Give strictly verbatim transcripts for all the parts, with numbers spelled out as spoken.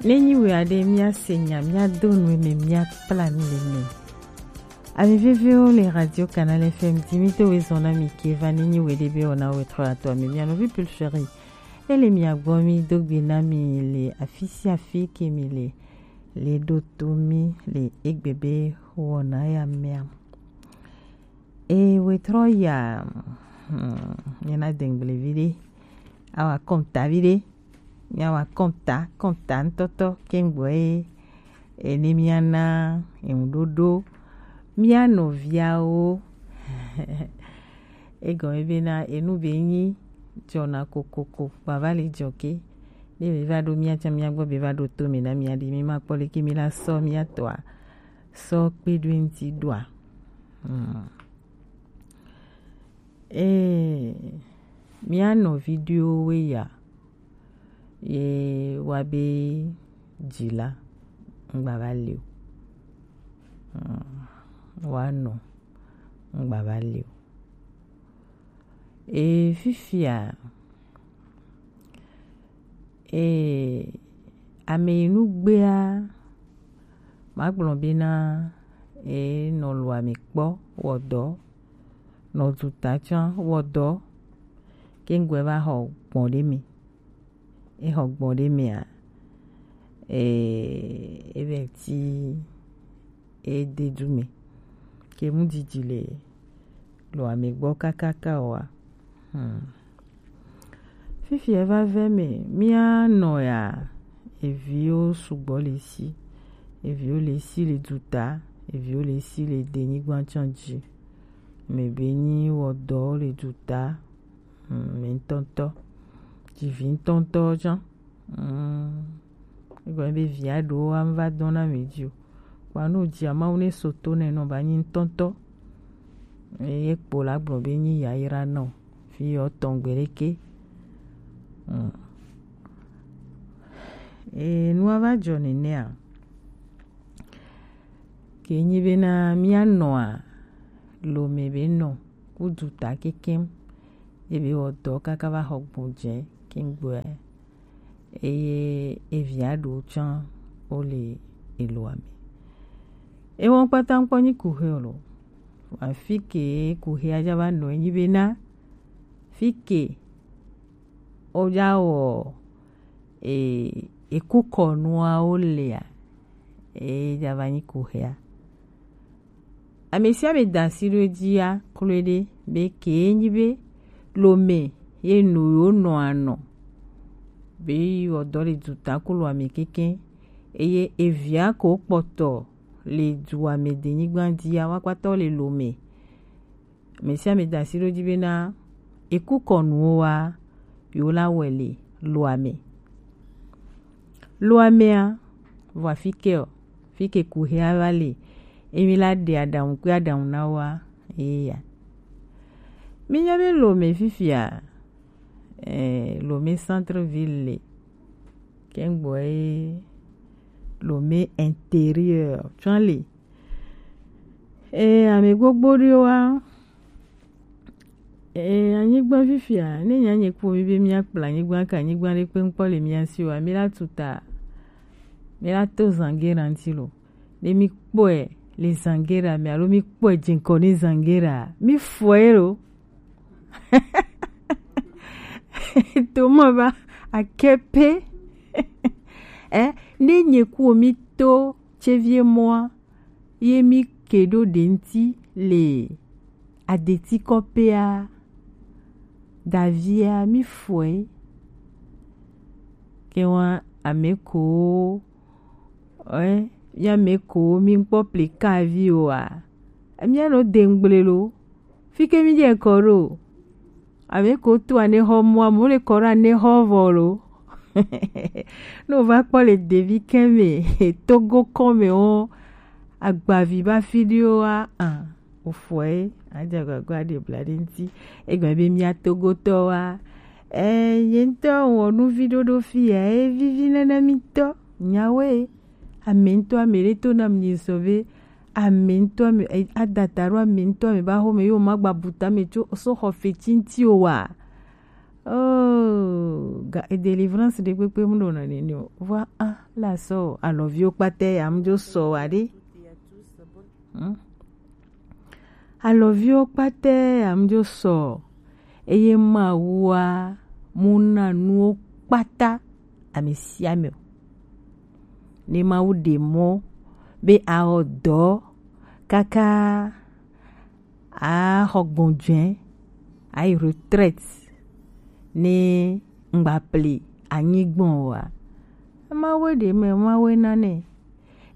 Ne nyi wɛ aɖe, mía se nya, mía do nu eme, mía kpla nu le eme. Ami veviwo le Radio Canal F M di mi do wezɔn na mi ke va ne nyi wɛ ɖe be wɔ na wɛ trɔ ato ami mía nɔvi Pulferi. Ele mia gbɔ mi do gbe na mi le afi sia afi ke mi le, le ɖo to mi le egbe be wɔna ya mea. E wɛ trɔ ya, hmm, mi na dengble vi ɖe, awa kɔnta vi ɖe, mi awa kɔnta, kɔnta ŋutɔtɔ ke ŋgbɔ ye, ene mia na eŋuɖoɖo, mia nɔviawo. Egɔme bena enu be nyi jɔna kokoko, kpa va le jɔ ke. Ne be va ɖo mia tsã mia gbɔ be va ɖo to mi na mia ɖi, mi ma kpɔ leke mi la sɔ mia tɔa, sɔ kpe ɖo eŋti ɖoa. Hmm. Ee, mía nɔvi ɖewo ya ye wa be dzila ŋgba va le o. Hmm. Wa nɔ ŋgba va le o. E fifia, e ame yi nu gbea, magblɔ bena, e nɔ lo ame kpɔ wɔ dɔ, nɔ duta tsã wɔ dɔ, ke ŋgɔe va xɔ gbɔn ɖe me. E xɔ gbɔn ɖe mea, e, e vɛ ti e de du me. Ke mu didi le lo ame gbɔ kakaka oa. Hmm. Fifi e va vɛ me, mía nɔ ya, eviwo sugbɔ le si, eviwo le si le duta, eviwo le si le denyigba tsã dzi. Me be nyi wɔ dɔ le duta, hmm, me ŋutɔŋutɔ, dzivi ŋutɔŋutɔ tsã. Hmm. Egɔme be via ɖewo wa va dɔn na mi dzi o. Kpa no dzia Mawu ne so to nɛ nɔ ba nyi ŋutɔŋutɔ. Eye kpo la gblɔ be nyi yayra nɔ. Fi yɔ tɔn gbe ɖeke. Hmm. E nua va dzɔ nenea. Ke nyi bena mía nɔa lo me be nɔ ku duta kekem. Ebe wɔ dɔ kaka va xɔ gbɔn dze ke ŋgbɔe. Eye evia ɖewo tsã wo le eloa me. Ewɔ kpata ŋkpɔ nyi kuxi o lo. Afi ke kuxi aja va nɔ enyi bena fi ke o ja wɔ e, eku kɔnuawo lea, e ja va nyi kuxia. Ame sia ame da asi ɖo edzi ya kloe ɖe be kee nyi be lome ye no yewo nɔ anɔ be yi wɔ dɔ le duta klo ame keke eye evia ko kpɔtɔ le dua me denyigba dzi ya wa kpata wo le lome. Ame sia ame da asi ɖo dzi bena eku kɔnuwo wa yewo la wɔe le loa me. Loa mea, vɔ afi ke o, fi ke kuxia va le, emi la ɖe aɖaŋu kple aɖaŋu na woa, eya. Mi nya be Lomé fifia, eh, Lomé centre ville le, kengbo ye Lomé intérieur tsã le. Eh, ame gbogbo ɖewoa, eh, anyigba fifia, ne nya nye kpɔ mi be mia kpla anyigba ke anyigba ɖe kpe ŋkpɔ le mia si oa, mi la tu ta, mi la to Zangera ŋuti lo. Ne mi kpɔe le Zangera me alo mi kpɔe dze ŋkɔ ne Zangera, mi fɔe lo. Toma ba akepe. Eh, ne nye kpɔ mi to Chevie mɔa, ye mi ke ɖo ɖe ŋuti le adeti kɔpea, davia mi fɔe. Ke wa ame ko, eh, ya ame ko mi kpɔ plika vi oa, mi anɔ de ŋgble lo. Fi ke mi dze kɔ ɖo. Ame ko to anexɔ mɔa, mo le kɔ ɖo anexɔ vɔ lo. Ne wova kpɔ le devi kɛ me, Togo kɔ me wo, agbavi ba fi ɖi wo wa, ah, ofɔe, adze agbagba ɖe bla ɖe ŋuti. Egbe be mia Togotɔ wa, eh, nye ŋutɔ wɔ nu vi ɖoɖo fi ya, e vivi nana mi ŋutɔ, nyawoe. Ame ŋutɔ ame ɖe to nam nyi sɔ be, ame ŋutɔ ame, eh, adata ɖo ame ŋutɔ ame ba xɔ me yo ma gba bu tame tso so xɔ fetsi ŋuti o wa. Oh, ga e délivrance ɖe kpekpe mu ɖo na nene o. Vɔa a la sɔ o, alɔviwo kpata ya mu dzo sɔ wa ɖe. Hmm? Alɔviwo kpata ya mu dzo sɔ o. Eye Mawua mu na nuwo kpata ame sia ame o. Ne Mawu ɖe mɔ be awɔ dɔ kaka axɔ gbɔnjɔe, ayi retraite, ne ŋgba ple anyi gbɔn oa, Mawu ɖe mɛ, Mawu na nɛ.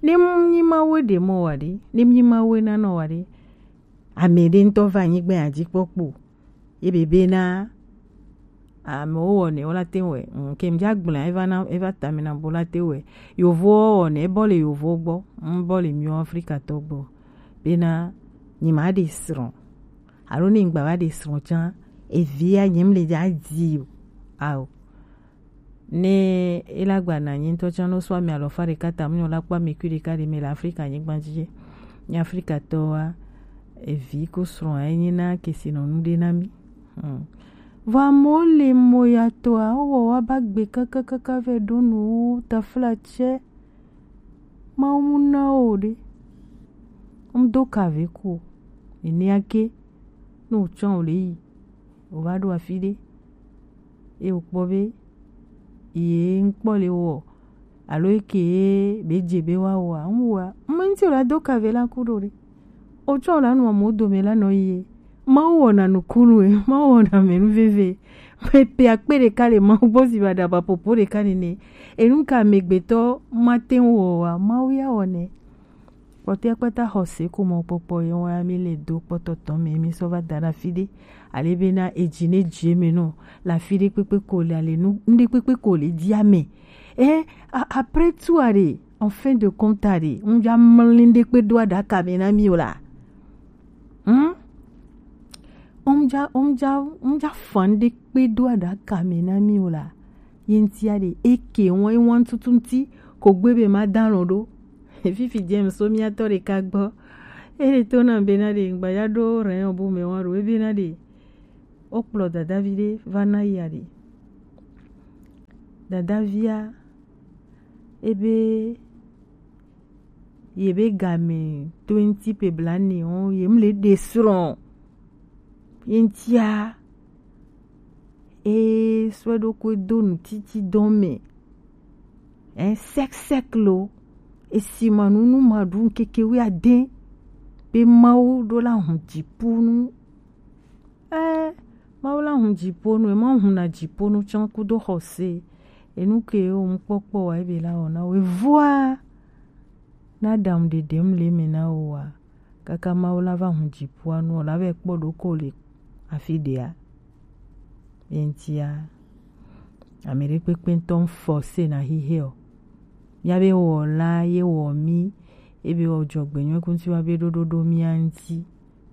Ne m-, nyi Mawu ɖe mɔ wa ɖe, ne m-, nyi Mawu na nɔ wa ɖe, ame ɖe ŋutɔ va anyigba ya dzi kpɔkpɔ. Ye be bena amewo wɔnɛ wo la te wɛ. Mm, ke m dza gblɔe, eva na, eva ta me na bo la te wɛ. Yovowo wɔnɛ, ebɔ le yovowo gbɔ, mbɔ le miwo Afrikatɔ gbɔ. Bena nyi ma ɖe srɔ̃. Alo ne ŋgba va ɖe srɔ̃ tsã, evia nye m le dza di o. Ao. Ne ela gba na nyi ŋutɔ tsã no sɔ ame alɔfa ɖeka ta mu nyɔ la kpɔ ame kui ɖeka ɖe me le Afrika nyigba dzi. Nye Afrikatɔwoa, evi ko srɔ̃a enyi na kesinɔnu ɖe na mi. Hmm. Vɔ amewo le mo ya tɔa, wowɔ wa ba gbe kakakaka vɛ ɖo nu taflatsɛ. Mawu mu na wo ɖe. Ŋdo ka ve ko. Enea ke, ne wòtsɔ wò le yi, wòva ɖo afi ɖe, eye wòkpɔ be ye ŋkpɔ le wɔ, alo eke ye be dze be woawɔa, ŋwɔa, ŋmɛ ŋuti wòla do ka ve la ku ɖo ɖe. Wotsɔ la nɔ amewo dome la nɔ yi ye. Mawu wɔna nukunu e, Mawu wɔna mɛnu veve. Mɛ pe akpe ɖeka le Mawu gbɔ si ba ɖaba popo ɖeka nene. Enu ka amegbetɔ mate ŋu wɔ wa, Mawu ya wɔnɛ. Kpɔtɔe kpata xɔse ko mɔkpɔkpɔ ye wa mi le do kpɔtɔtɔ me mi sɔ va da ɖe afi ɖe. Ale bena edzi ne dzi me nɔ le afi ɖe kpekpe ko le ale nu, nu ɖe kpekpe ko le dzi ame. Eh, a-, après tout are, en fin de compte are, ŋdza mlin ɖe kpe do aɖaka me na mi o la. Hmm? Ŋdza, ŋdza, ŋdza fan ɖe kpe do aɖaka me na mi o la. Ye ŋtia ɖe eke wɔn, wɔn tutu ŋti ko gbe be ma da lɔ ɖo. Fifi James so mia tɔ ɖeka gbɔ. Ele to na bena ɖe ŋgba ya ɖo rɛn o bu me wa ɖo. Ebena ɖe wokplɔ dadavi ɖe va na ya ɖe. Dadavia, ebe, ye be game twenty pe blanɛ o, ye mle ɖe srɔ̃. Ye ŋtia, e sɔe ɖokui do nu titi dɔn me. Ɛ, sɛk sɛk lo. Esi ma nu nu ma ɖu ŋkeke wi ade. Be Mawu ɖo la hun dziƒo nu. Ɛ, Mawu la hun dziƒo nu, e ma hun na dziƒo nu tsã kudo xɔse. Enu ke wo ŋkpɔkpɔ wa ebe la wɔna wo. Evoa, na ɖam ɖeɖem le me na wo wa. Kaka Mawu la va hun dziƒoa nu, la va kpɔ ɖo ko le afi ɖea. Ye ŋtia, ame ɖe kpekpe ŋutɔ ŋfɔ se na xixe o. Mía be wɔla ye wɔ mí, ebe wɔ dzɔgbenyui kuŋti wa be ɖoɖo ɖo mía ŋuti.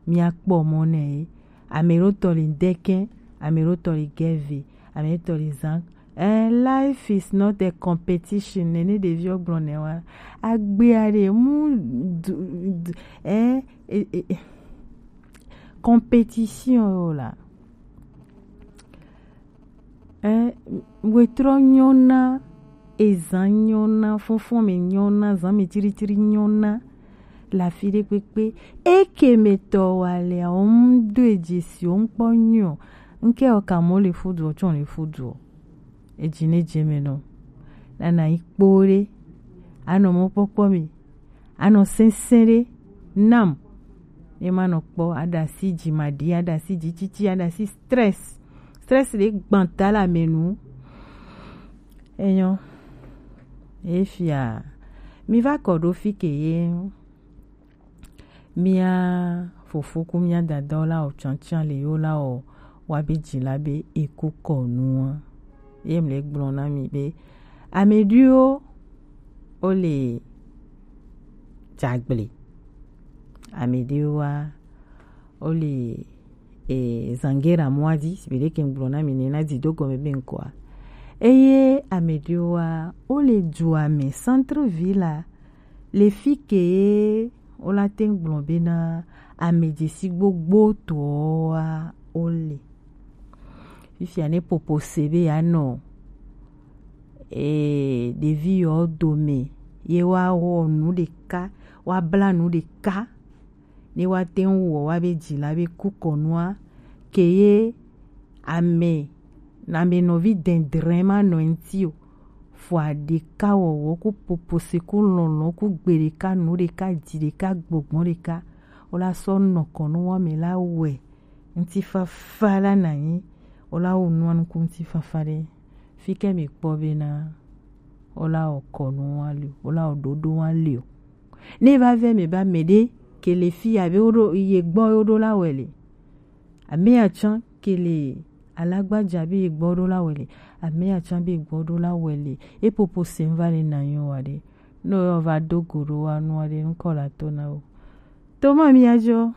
Mía kpɔ mɔ nɛ ye. Ame ɖo tɔ li dekɛ, ame ɖo tɔ li gɛve, ame ɖo tɔ li zan. Eh, life is not a competition. Nene ɖeviwo gblɔ nɛ wa. Agbea ɖe mu du, du, eh, eh, eh, eh. Competition yo la. Eh, wetrɔ nyɔna, ezan nyɔna, fɔnfɔn me nyɔna, zan me tsiritsiri nyɔna, le afi ɖe kpekpe. Eke me tɔ wa le, wo ŋu do edzi si, wo ŋkpɔ nyɔ. Ŋke o ka mo le fudu, o tsɔ le fudu. Edzi ne dze me nɔ. Nana yi kpo ɖe. Anɔ mɔkpɔkpɔ me. Anɔ sɛnsɛn ɖe nam. Ye ma nɔ kpɔ, aɖasi dzi ma ɖi, aɖasi dzi titi, aɖasi stress. Stress ɖe gbanta le ame nu. Enyo. Efia. Mi va kɔ ɖo fi ke ye. Mía fofo ku mía dadawo la o tsantsan le yo la o wa be dzi la be eku kɔ nua. Ye mle gblɔ na mi be ame ɖewo wo le dzagble. Ame ɖewo wa wo le, e, zangera mɔa dzi, si be ɖeke gblɔ na mi ne na dzi do gɔme be ŋkɔa. Eye ame ɖewo wa wo le dua me, centre ville la, le fi ke wo la te gblɔ be na ame dzesi gbogbo tɔa wo le. Fia ne popo se be ya nɔ ee ɖevi yɔ dome ye wa wɔ nu ɖeka, wa bla nu ɖeka, ne wa te ŋu wɔ wa be dzi la be ku kɔnua ke ye ame ame nɔvi dɛndrɛn ma nɔ ŋuti o. Fɔ aɖeka wɔwɔ ku popo se ku lɔlɔ ku gbe ɖeka nu ɖeka dzi ɖeka gbɔgbɔ ɖeka, wo la sɔ nɔ kɔnu wɔme la wɛ ŋutifafa la na nyi, wo la wo nua nuku ŋutifafa ɖe. Fi ke mi kpɔ be na wo la wɔ kɔnu wa li o, wo la wɔ ɖoɖo wa li o. Ne va vɛ mi ba mɛ ɖe ke le fi ya be wo ɖo ye gbɔ wo ɖo la wɛ le. Ame ya tsã ke le alagbaja be ye gbɔ ɖo la wɛ le. Ame ya tsã be ye gbɔ ɖo la wɛ le. E popo se va le na nyi wa ɖe. No yo va do go ɖo wa nua ɖe ŋkɔ la to na wo. To ma mi ya jɔ.